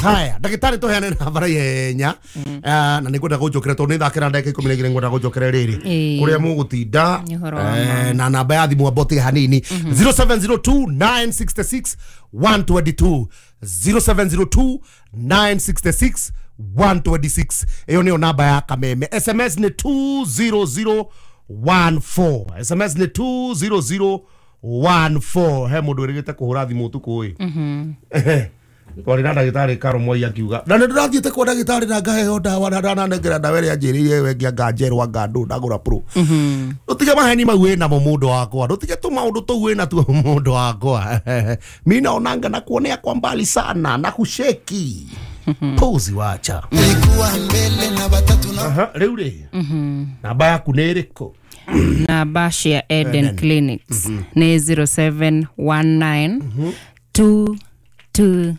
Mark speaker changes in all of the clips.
Speaker 1: Haya, ndagĩtarĩ tũheane namba ihenya na nĩ ngwenda gũnjũkĩra tondũ nĩ thakĩra ndagĩka 12 ngwenda gũnjũkĩra rĩrĩ kũrĩa mũgũtinda na namba ya thimũ ambotige hanini 0702 966 122 0702 966 126 iyo niyo namba ya Kameme. SMS ni 20014, SMS ni 20014. He mundu wirigite kuhura thimu utuku ii twarĩ na ndagĩtarĩ Karo Moi akiuga na nĩ ndĩrathiĩte kwa ndagĩtarĩ na ngaheo ndawa na ndananengera ndawa ĩrĩa anjĩrĩire wengia nganjerwa ngandũ ndagũra pro. Ndũtige maheni mau wĩnamo mũndũ wakwa, ndũtige tũmaũndũ tũu wĩnatuo mũndũ wakwa. Mi naonanga na kuonea kwa mbali sana na kusheki puzi wacha. Rĩu rĩ namba yaku nĩ ĩrĩkũ?
Speaker 2: Namba cia Eden Clinics nĩ 0719 222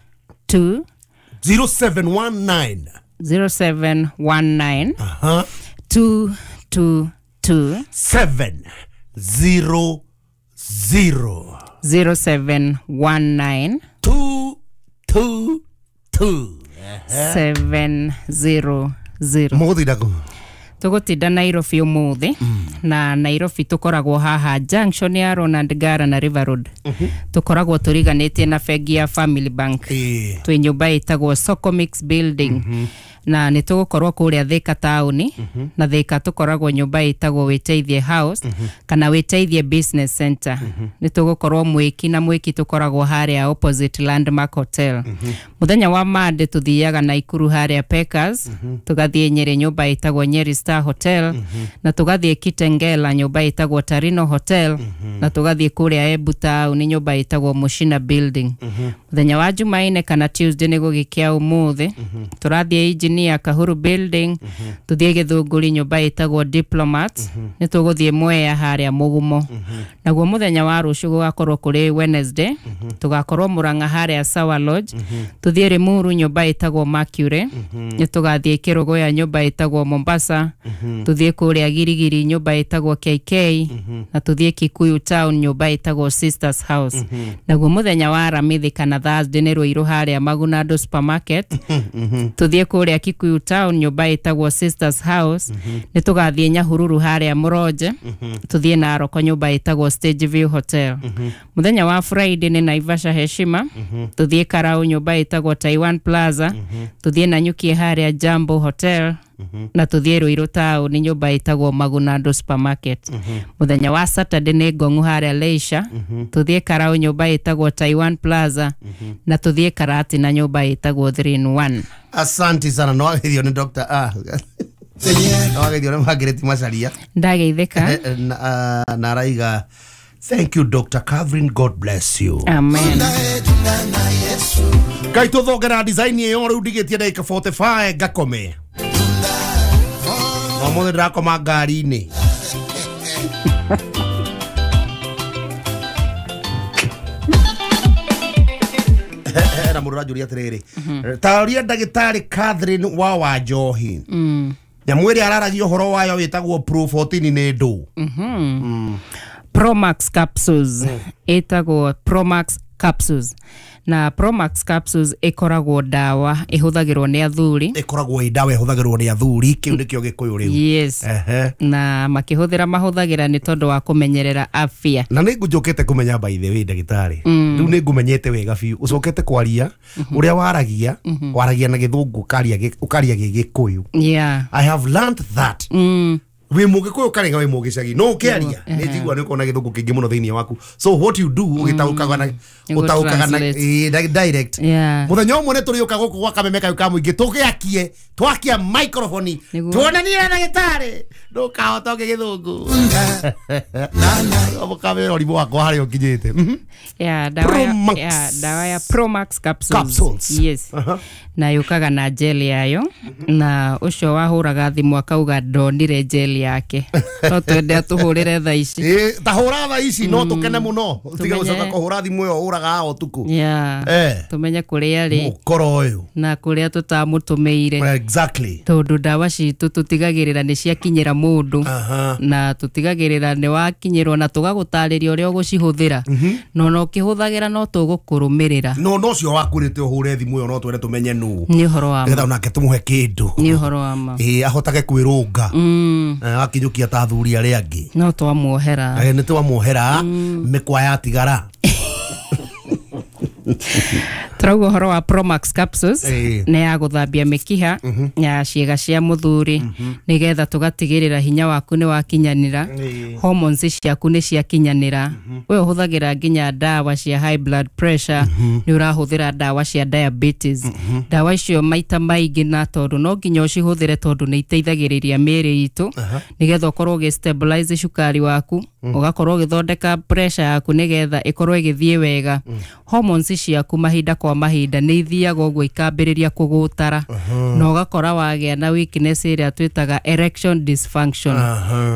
Speaker 1: 0719
Speaker 2: 0719 222
Speaker 1: 700
Speaker 2: 0719
Speaker 1: 222
Speaker 2: 700.
Speaker 1: Mũgũtinda kũ?
Speaker 2: Tũgũtinda Nairobi ũmũthĩ na Nairobi tũkoragwo haha junction ya Ronald Ngara na River Road. Tũkoragwo tũriganĩtie na bengi ya Family Bank. Twĩ nyũmba ĩtagwo Socomix Building. Na nĩ tũgũkorwo kũrĩa Thika taũni na Thika tũkoragwo nyũmba ĩtagwo Wĩteithie House kana Wĩteithie Business Center. Nĩ tũgũkorwo Mwĩki na Mwĩki tũkoragwo harĩa opposite Landmark Hotel. Mũthenya wa Monday tũthiaga Naikuru harĩa Packers, tũgathiĩ Nyeri nyũmba ĩtagwo Nyeri Star Hotel na tũgathiĩ Kitengela nyũmba ĩtagwo Tarino Hotel na tũgathiĩ kũrĩa Embu taũni nyũmba ĩtagwo Mushina Building. Mũthenya wa Jumaine kana Tuesday nĩ gũgĩkĩa ũmũthĩ tũrathiĩ Engineer Kahuru Building, tuthiĩ Gĩthũngũri nyũmba ĩtagwo Diplomat, nĩ tũgũthiĩ Mwea harĩa Mũgumo. Naguo mũthenya wa rũciũ gũgakorwo kũrĩ Wednesday, tũgakorwo Murang'a harĩa Sawa Lodge, tuthiĩ Limuru nyũmba ĩtagwo Mercury, nĩ tũgathiĩ Kĩrũgũya nyũmba ĩtagwo Mombasa, tuthiĩ kũrĩa Girigiri nyũmba ĩtagwo KK, na tuthiĩ Kikuyu Town nyũmba ĩtagwo Sisters House. Naguo mũthenya wa Aramithi kana Thursday nĩ Ruiru harĩa Magunado Supermarket, tuthiĩ kũrĩa Kikuyu Town nyũmba ĩtagwo Sisters House, nĩ tũgathiĩ Nyahururu harĩa Mũronje, tuthiĩ Naroko nyũmba ĩtagwo Stage View Hotel. Mũthenya wa Friday nĩ Naivasha Heshima, tuthiĩ Karau nyũmba ĩtagwo Taiwan Plaza, tuthiĩ Nanyuki harĩa Jambo Hotel, na tuthiĩ Ruiru Town nyũmba ĩtagwo Magunado Supermarket. Mũthenya wa Saturday nĩ Ngong'u harĩa Leisure, tuthiĩ Karau nyũmba ĩtagwo Taiwan Plaza, na tuthiĩ Karatina nyũmba ĩtagwo 3 in 1.
Speaker 1: Asante sana no wageithio nĩ Dr. No wageithio nĩ Margaret Macharia.
Speaker 2: Ndageithĩka.
Speaker 1: Na araiga thank you Dr. Catherine, God bless you.
Speaker 2: Amen.
Speaker 1: Ngai tũthongera design ĩyo rĩu ndigĩtie ndagĩka 45 ngakome. No mũthĩ ndĩrakoma ngari-inĩ. Na mũndũ ũranjũria atĩrĩrĩ, taũria ndagĩtarĩ Catherine wa Wanjohi nyamũ ĩrĩa araragia ũhoro wayo wĩtagwo Pro 14 nĩ ndũ?
Speaker 2: Promax capsules ĩtagwo Promax capsules, na Promax capsules ĩkoragwo ndawa ĩhũthagĩrwo nĩ athuri.
Speaker 1: Ĩkoragwo ĩ ndawa ĩhũthagĩrwo nĩ athuri, kĩu nĩkĩo Gĩkũyũ rĩu.
Speaker 2: Yes. Na makĩhũthĩra mahũthagĩra nĩ tondũ wa kũmenyerera afya.
Speaker 1: Na nĩ ngũnjũkĩte kũmenya by the way ndagĩtarĩ, rĩu nĩ ngũmenyete wega biũ, ũcokete kwaria ũrĩa waragia, waragia na Gĩthũngũ ũkaria Gĩgĩkũyũ.
Speaker 2: Yeah.
Speaker 1: I have learned that. Wĩ mũgĩkũyũ karega wĩ mũgĩcagi no ũkĩaria nĩ njigua nĩ ũkona Gĩthũngũ kĩingĩ mũno thĩinĩ waku, so what you do ũgĩtaũkaga na ũtaũkaga na direct. Mũthenya ũmwe nĩ tũrĩũka gũkũ gwa Kameme kayũ ka mũingĩ tũgĩakie twakia microphone tuonanie na ndagĩtarĩ ndũkahota ũngĩ Gĩthũngũ mũkamera ũrimũ wakwa harĩa ũkinyĩte.
Speaker 2: Dawa ya Promax capsules. Yes. Na yũkaga na gel yayo, na ũcio wahũraga thimũ akauga ndonire gel yake no twende atũhũrĩre thaa ici.
Speaker 1: Ta hũra thaa ici no tũkene mũno tiga gũcoka kũhũra thimũ ĩyo ũraga ũtukũ. Tũmenye kũrĩa rĩ mũkoro ũyũ
Speaker 2: na kũrĩa tũtamũtũmĩire.
Speaker 1: Exactly.
Speaker 2: Tondũ ndawa citũ tũtigagĩrĩra nĩ ciakinyĩra mũndũ na tũtigagĩrĩra nĩ wakinyĩrwo na tũgagũtarĩria ũrĩa ũgũcihũthĩra no no ũkĩhũthagĩra no tũgũkũrũmĩrĩra.
Speaker 1: No no cio wakwĩrĩte ũhũre thimũ ĩyo no twende tũmenye nũ.
Speaker 2: Nĩ ũhoro wa ma.
Speaker 1: Nĩgetha onake tũmũhe kĩndũ.
Speaker 2: Nĩ ũhoro wa ma.
Speaker 1: Ahotage kwĩrũnga. Akinyũkia ta athuri arĩa angĩ.
Speaker 2: No twamuohera.
Speaker 1: Nĩ twamuohera mĩkwa yatigara.
Speaker 2: Turauga ũhoro wa Promax capsules nĩ ya gũthambia mĩkiha ya ciĩga cia mũthuri nĩgetha tũgatigĩrĩra hinya waku nĩ wakinyanĩra, hormones ciaku nĩ ciakinyanĩra. We ũhũthagĩra nginya ndawa cia high blood pressure, nĩ ũrahũthĩra ndawa cia diabetes. Ndawa icio maita maingĩ na tondũ no nginya ũcihũthĩre tondũ nĩ iteithagĩrĩria mĩĩrĩ itũ nĩgetha ũkorwo ũgĩ stabilize cukari waku, ũgakorwo ũgĩthondeka pressure yaku nĩgetha ĩkorwo ĩgĩthiĩ wega. Hormones ciaku mahinda kwa mahinda nĩ ithiaga ũguo ikambĩrĩria kũgũtara na ũgakora wagĩa na weakness ĩrĩa twĩtaga erection dysfunction.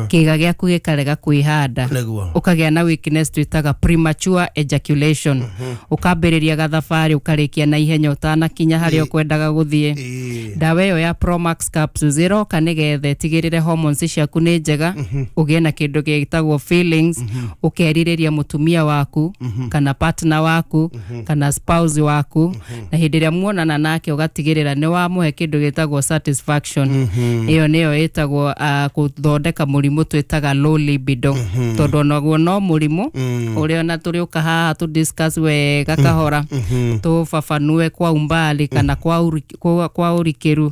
Speaker 2: Kĩga gĩaku gĩkarega kwĩhanda, ũkagĩa na weakness twĩtaga premature ejaculation. Ũkambĩrĩria gathabarĩ ũkarĩkia na ihenya ũtanakinya harĩa ũkwendaga gũthiĩ. Ndawa ĩyo ya Promax capsules ĩroka nĩgetha ĩtigĩrĩre hormones ciaku nĩ njega, ũgĩe na kĩndũ gĩtagwo feelings, ũkerirĩria mũtumia waku kana partner waku kana spouse waku, na hĩndĩ ĩrĩa muonana nake ũgatigĩrĩra nĩ wamũhe kĩndũ gĩtagwo satisfaction. Ĩyo nĩyo ĩtagwo gũthondeka mũrimũ twĩtaga low libido, tondũ onaguo no mũrimũ ũrĩa ona tũrĩũka haha tũ discuss wega kahora, tũbabanue kwa umbali kana kwa ũrikĩru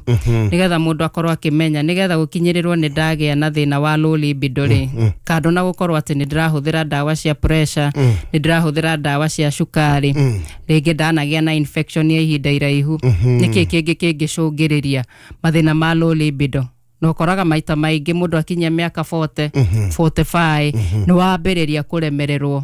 Speaker 2: nĩgetha mũndũ akorwo akĩmenya nĩgetha gũkinyĩrĩrwo nĩ ndagĩa na thĩna wa low libido rĩ, kando na gũkorwo atĩ nĩ ndĩrahũthĩra ndawa cia pressure, nĩ ndĩrahũthĩra ndawa cia cukari, rĩngĩ ndanagĩa na infection ya ihinda iraihu, nĩkĩ kĩngĩ kĩngĩcũngĩrĩria mathĩna ma low libido. Na ũkoraga maita maingĩ mũndũ akinyia mĩaka 40, 45 nĩ wambĩrĩria kũremererwo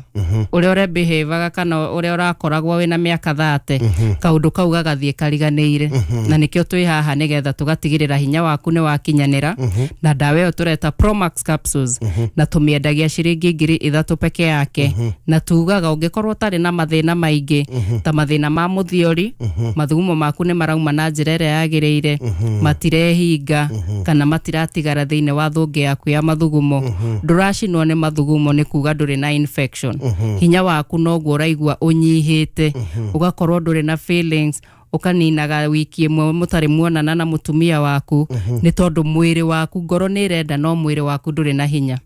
Speaker 2: ũrĩa ũrebehavaga kana ũrĩa ũrakoragwo wĩna mĩaka 30, kaũndũ kau gagathiĩ kariganĩire. Na nĩkĩo twĩ haha nĩgetha tũgatigĩrĩra hinya waku nĩ wakinyanĩra na ndawa ĩyo tũreta Promax capsules, na tũmĩendagia ciringi 3,000 peke yake, na tugaga ũngĩkorwo ũtarĩ na mathĩna maingĩ ta mathĩna ma mũthiori, mathugumo maku nĩ marauma na njĩra ĩrĩa yagĩrĩire, matirehinga kana matiratigara thĩinĩ wa thũngĩ yaku ya mathugumo, ndũracinwo nĩ mathugumo nĩ kuga ndũrĩ na infection, hinya waku noguo ũraigua ũnyihĩte, ũgakorwo ndũrĩ na feelings, ũkaninaga wiki ĩmwe mũtarĩ muonana na mũtumia waku nĩ tondũ mwĩrĩ waku ngoro nĩ ĩrenda no mwĩrĩ waku ndũrĩ na hinya.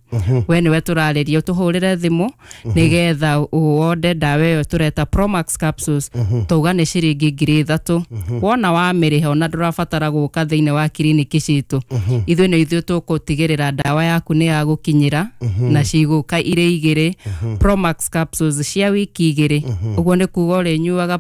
Speaker 2: We nĩwe tũrarĩria ũtũhũrĩre thimũ nĩgetha ũonde ndawa ĩyo tũreta Promax capsules, tauga nĩ ciringi 3,000. Wona wamĩrĩha ona ndũrabatara gũka thĩinĩ wa kiriniki citũ, ithuĩ nĩ ithuĩ tũgũtigĩrĩra ndawa yaku nĩ yagũkinyĩra na cigũka irĩ igĩrĩ, Promax capsules cia wiki igĩrĩ. Ũguo nĩ kuga ũrĩnyuaga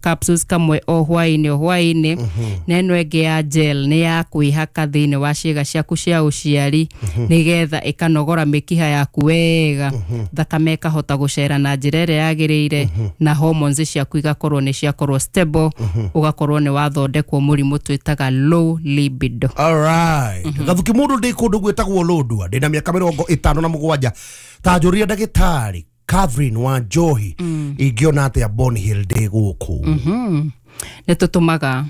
Speaker 2: capsules kamwe o hwaĩ-inĩ o hwaĩ-inĩ, na ĩno ĩngĩ ya gel nĩ ya kwĩhaka thĩinĩ wa ciĩga ciaku cia ũciari nĩgetha ĩkanogora mĩkiha yaku wega, thakame ĩkahota gũcera na njĩra ĩrĩa yagĩrĩire, na hormones ciaku igakorwo nĩ ciakorwo stable, ũgakorwo nĩ wathondekwo mũrimũ twĩtaga low libido.
Speaker 1: Alright. Gathuki mũndũ ndĩ kũndũ gwĩtagwo Lodwar, ndĩna mĩaka 57, ta njũria ndagĩtarĩ Catherine wa Njohi ingĩona atĩa Bonhill ndĩ gũkũ.
Speaker 2: Nĩ tũtũmaga,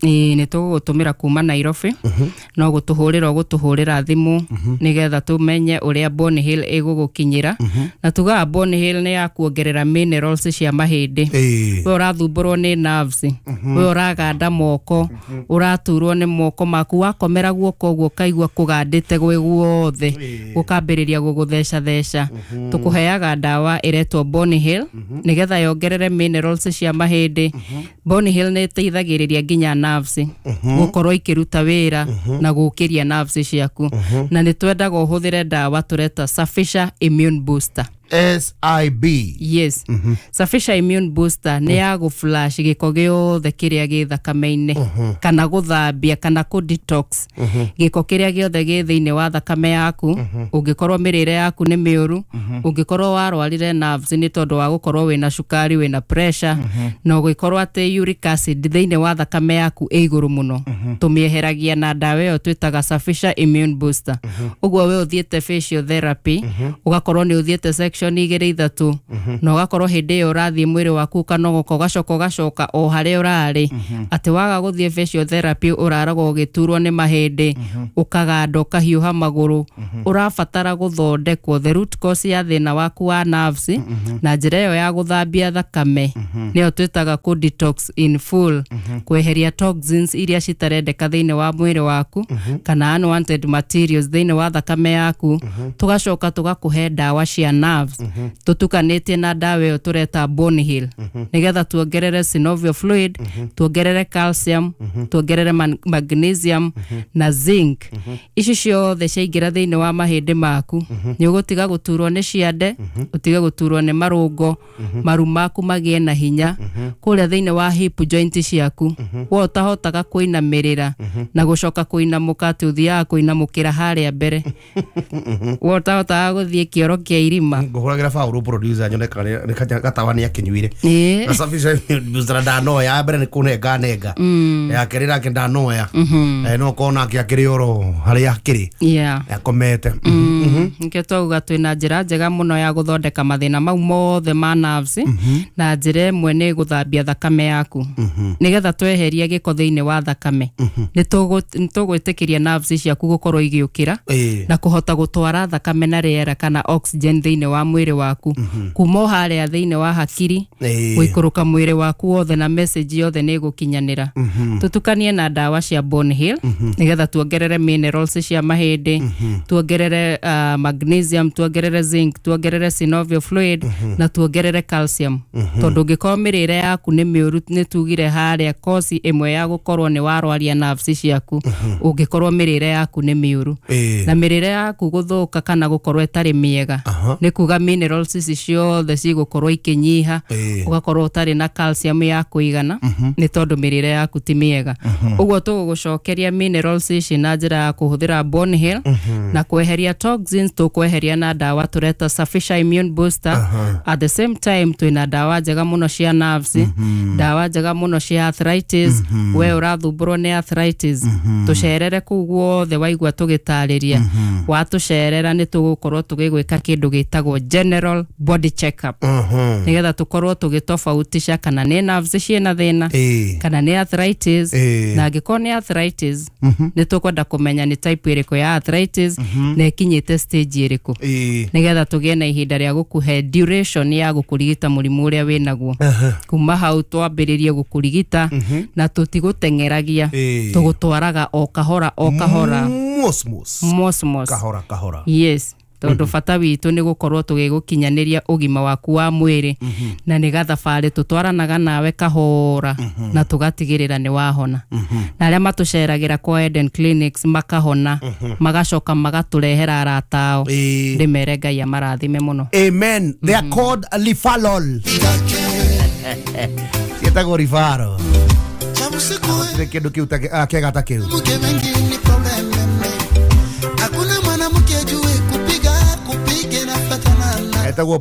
Speaker 2: nĩ tũgũgũtũmĩra kuma Nairobi, no gũtũhũrĩra ũgũtũhũrĩra thimũ nĩgetha tũmenye ũrĩa Bonhill ĩgũgũkinyĩra. Na tugaga Bonhill nĩ ya kuongerera minerals cia mahĩndĩ. We ũrathumbũrwo nĩ nerves, we ũraganda moko, ũraturwo nĩ moko maku, wakomera guoko ũguo ũkaigua kũgandĩte gwĩ guothe, gũkambĩrĩria gũgũthecatheca. Tũkũheaga ndawa ĩretwo Bonhill nĩgetha yongerere minerals cia mahĩndĩ. Bonhill nĩ ĩteithagĩrĩria nginya nerves gũkorwo ikĩruta wĩra na gũkĩria nerves ciaku. Na nĩ twendaga ũhũthĩre ndawa tũreta Safisha Immune Booster.
Speaker 1: SIB.
Speaker 2: Yes. Safisha Immune Booster nĩ ya gũ flush gĩko gĩothe kĩrĩa gĩ thakame-inĩ, kana gũthambia kana kũ detox gĩko kĩrĩa gĩothe gĩ thĩinĩ wa thakame yaku. Ũngĩkorwo mĩrĩre yaku nĩ mĩũru, ũngĩkorwo warwarire nerves nĩ tondũ wa gũkorwo wĩna cukari, wĩna pressure, na ũgĩkorwo atĩ uric acid thĩinĩ wa thakame yaku ĩ igũrũ mũno, tũmĩeheragia na ndawa ĩyo twĩtaga Safisha Immune Booster. Ũguo we ũthiĩte physiotherapy, ũgakorwo nĩ ũthiĩte section igĩrĩ ithatũ, na ũgakorwo hĩndĩ ĩyo ũrathiĩ mwĩrĩ waku ũkanogoka, ũgacoka ũgacoka o harĩa ũrarĩ, atĩ waga gũthiĩ physiotherapy ũraragwo ũgĩturwo nĩ mahĩndĩ, ũkaganda, ũkahiũha magũrũ, ũrabatara gũthondekwo the root cause ya thĩna waku wa nerves na njĩra ĩyo ya gũthambia thakame, nĩyo twĩtaga kũ detox in full, kweheria toxins iria citarendeka thĩinĩ wa mwĩrĩ waku kana unwanted materials thĩinĩ wa thakame yaku. Tũgacoka tũgakũhe ndawa cia nerves tũtukanĩtie na ndawa ĩyo tũreta bone heal, nĩgetha tuongerere synovial fluid, tuongerere calcium, tuongerere magnesium na zinc. Ici ciothe ciaingĩra thĩinĩ wa mahĩndĩ maku, nĩ ũgũtiga gũturwo nĩ ciande, ũtige gũturwo nĩ marũngo, maru maku magĩe na hinya kũrĩa thĩinĩ wa hip joint ciaku. We ũtahotaga kũinamĩrĩra na gũcoka kũinamũka, atĩ ũthiaga kũinamũkĩra harĩa mbere, we ũtahotaga gũthiĩ kĩoro kĩa irima.
Speaker 1: Ngũhũragĩra Paul producer nyone kana nĩ gatawa nĩ akĩnyuire.
Speaker 2: Ĩĩ.
Speaker 1: Na Safisha Immune Booster ndanoya, mbere nĩ kũnenga nenga, ya kerĩ nake ndanoya. No korwo nake akĩrĩ oro harĩa akĩrĩ akomete.
Speaker 2: Nikĩo twauga twĩna njĩra njega mũno ya gũthondeka mathĩna mau mothe ma nerves, na njĩra ĩmwe nĩ gũthambia thakame yaku, nĩgetha tweheria gĩko thĩinĩ wa thakame nĩ tũgwĩtĩkĩria nerves ciaku gũkorwo igĩũkĩra na kũhota gũtwara thakame na rĩera kana oxygen thĩinĩ wa mwĩrĩ waku, kuma o harĩa thĩinĩ wa hakiri gũikũrũka mwĩrĩ waku wothe, na message yothe nĩ ĩgũkinyanĩra. Tũtukanie na ndawa cia bone heal, nĩgetha tuongerere minerals cia mahĩndĩ, tuongerere magnesium, tuongerere zinc, tuongerere synovial fluid na tuongerere calcium, tondũ ũngĩkorwo mĩrĩre yaku nĩ mĩũru, nĩ tugire harĩa kosi ĩmwe ya gũkorwo nĩ warwaria nerves ciaku, ũngĩkorwo mĩrĩre yaku nĩ mĩũru, na mĩrĩre yaku gũthũka kana gũkorwo ĩtarĩ mĩega nĩ kuga minerals ici ciothe cigũkorwo ikĩnyiha, ũgakorwo ũtarĩ na calcium ya kũigana nĩ tondũ mĩrĩre yaku ti mĩega. Ũguo tũgũgũcokeria minerals ici na njĩra ya kũhũthĩra bone heal na kweheria toxins, tũkweheria na ndawa tũreta Safisha Immune Booster. At the same time twĩna ndawa njega mũno cia nerves, ndawa njega mũno cia arthritis. We ũrathumbũrwo nĩ arthritis, tũcerere kũu guothe waigua tũgĩtarĩria. Watũcerera nĩ tũgũkorwo tũgĩgwĩka kĩndũ gĩtagwo general body check up, nĩgetha tũkorwo tũgĩtofautisha kana nĩ nerves ciĩna thĩna kana nĩ arthritis, na angĩkorwo nĩ arthritis nĩ tũkwenda kũmenya nĩ type ĩrĩkũ ya arthritis na ĩkinyĩte stage ĩrĩkũ, nĩgetha tũgĩe na ihinda rĩa gũkũhe duration ya gũkũrigita mũrimũ ũrĩa wĩnaguo. Kuma hau twambĩrĩrie gũkũrigita na tũtigũteng'eragia, tũgũtwaraga o kahora o kahora.
Speaker 1: Mos mos.
Speaker 2: Mos mos.
Speaker 1: Kahora kahora.
Speaker 2: Yes, tondũ bata witũ nĩ gũkorwo tũgĩgũkinyanĩria ũgima waku wa mwĩrĩ, na nĩ gathabarĩ tũtwaranaga nawe kahora na tũgatigĩrĩra nĩ wahona. Na arĩa matũceragĩra kwa Eden Clinics makahona, magacoka magatũrehera arata ao, ndĩmere Ngai amarathime mũno.
Speaker 1: Amen. They are called Lifalol. Ciĩtagwo Rifaro. Gũtirĩ kĩndũ kĩu kĩega ta kĩu.
Speaker 3: Mke mengi ni problem hakuna mwanamke ajue kupiga kupige na fatana
Speaker 1: Etagwo.